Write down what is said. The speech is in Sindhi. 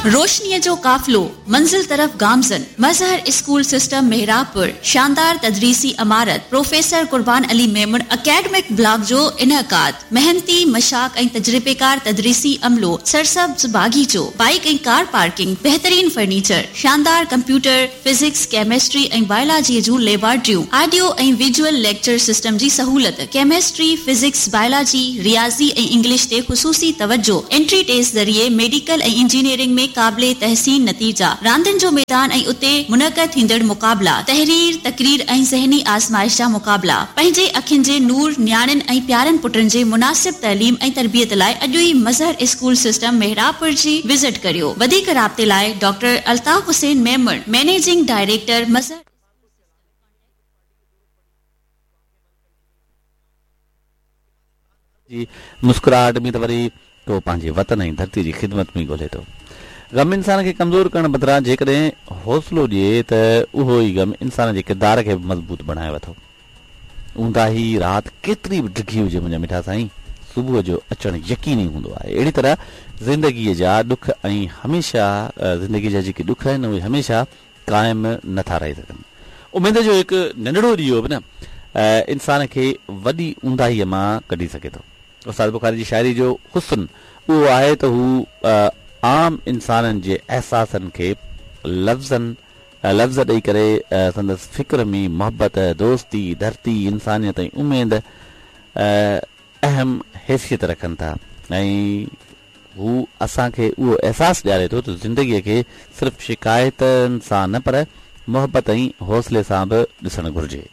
روشنيء جو قافلو منزل طرف گامزن، مظهر اسڪول سسٽم محرابپور، شاندار تدريسي عمارت، professor Qurban Ali Memon academic block جو انعقاد، محنتي، مشتاق ۽ تجربيڪار تدريسي عملو، سرسبز باغيچو، بائيڪ ۽ ڪار پارڪنگ، بهترين فرنيچر، شاندار ڪمپيوٽر، فزڪس، ڪيمسٽري ۽ بائلاجيء جون ليبارٽريون، آڊيو ۽ ويجوئل ليڪچر سسٽم جي سهولت، ڪيمسٽري، فزڪس، بائلاجي، رياضي ۽ انگلش تي خصوصي توجهه، انٽري ٽيسٽ ذريعي ميڊيڪل ۽ انجنيئرنگ ۾ قابل تحسين نتيجا، راندين جو ميدان ۽ اتي منعقد ٿيندڙ مقابلا، تحرير، تقرير ۽ ذهني آزمائش جا مقابلا، پنهنجي اکين جي نور، نياڻين ۽ پيارن پٽن جي مناسب تعليم ۽ تربيت لاء اڄ ئي مظهر اسڪول سسٽم محرابپور جي وزٽ ڪريو. وڌيڪ رابطي لاء doctor Altaf Hussain Memon, managing director, Mazhar. جي مسڪراهٽ ۾ ته وري ڪو پنهنجي وطن ۽ ڌرتي جي خدمت ۾ ڳولي ٿو. غم انسان کي ڪمزور ڪرڻ بدران جيڪڏهن حوصلو ڏئي ته اهو ئي غم انسان جي ڪردار کي به مضبوط بڻايو ٿو. اونداهي رات ڪيتري به ڊگهي هجي منهنجا مٺا سائين صبح جو اچڻ يقيني هوندو آهي. اهڙي طرح زندگيء جا ڏک ۽ هميشه زندگيء جا جيڪي ڏک آهن اهي هميشه قائم نه ٿا رهي سگهن. اميد جو هڪ ننڍڙو ڏيئو به نه انسان کي وڏي اونداهيء مان ڪڍي سگهي ٿو. استاد بخاري جي شاعريء جو حسن اهو آهي ته هو عام انسانن جي احساسن کي لفظن لفظ ڏئي ڪري سندس فڪر ۾ محبت، دوستي، ڌرتي، انسانيت ۽ اميد اهم حيثيت رکن ٿا ۽ هو اسان کي اهو احساس ڏياري ٿو ته زندگيء کي صرف شڪايتن سان نه پر محبت ۽ حوصلي سان به ڏسڻ گهرجي.